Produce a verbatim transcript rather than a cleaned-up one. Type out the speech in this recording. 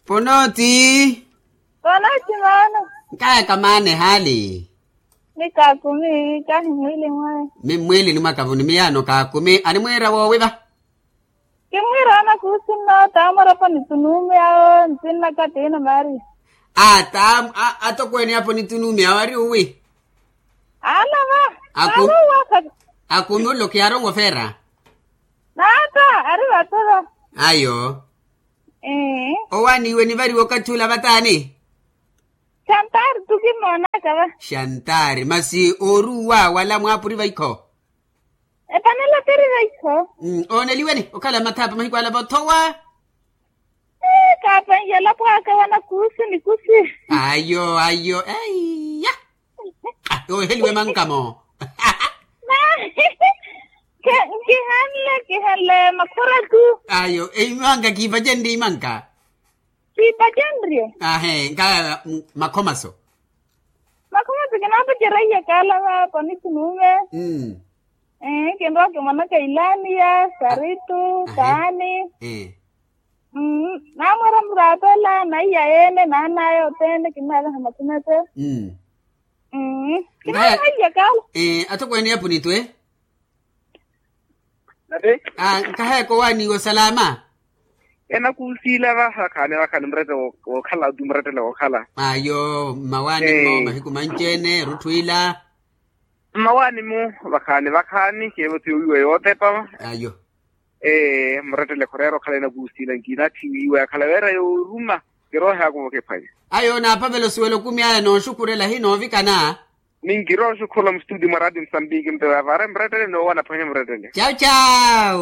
Ponooti. Ponooti maana. Nkaya kamaana ehaali. Ni kaakumi kahi mwiili mwaye. Mi mmwiilini mwaka vuni miyaano kaakumi animwiira woowi va? Kimwiira anakuusi nno taamwarapo ni tunuumi awo ntinnaka tiina maari. Ata atokweene apo ni tunuumi awo ari uwi? Alava. Akumi ollo kiyarongo feera. Naata ari vatova. Ayo. Owaaniwe nivariwe okathi ula vataani? Xantaari tu kimmoonaka va. Xantaari masi ooruwa wala mwaapuri vaikho? Epanela tiri vaikho. Ooneliweni okhala mathapa mahiku ala vothowa. Kaapanhiyela pwaaka wanakuusi nikusi. Ayo ayo eiya. Oheliwe mankamo. Kihanle kihanle makhura tu. Ayo eimanka kiivacenri imanka. Kiivacenriye. Ahe nkaya makhomaso. Makhomaso kinaapacerya iye kaala vaapa ni kinuume. Kinrowa kimwanaka ilaaniya saritu taani. Naamwera muraatela naiya yeene naanaya othene kinnaalaha makhumete. Kinaapacerya kaala. Atokweene ya punitwe. Nkaheeko waaniiwa salama. Enakuusiila vakhaani vakhaani murete wookhala atu murete wookhala. Ayo mmawaani mmo mahiku manci-ene erutthu ila. Mmawaani-mu vakhaani vakhaani keevo ti owiiwa yootepa. Ayo. Ee murettele khureera okhala enakuusiila nkinatthi wiiwa yakhala weera yooruma. Kirooheyaka ovokephwanya. Ayo naapavela osuwela okumi aya nooxukhurela hinoovikana. Ninkirooxukhurela mustutio mwa raati musambiki mpewa vaare murettele noowa naphwanya murettele. Cau cau.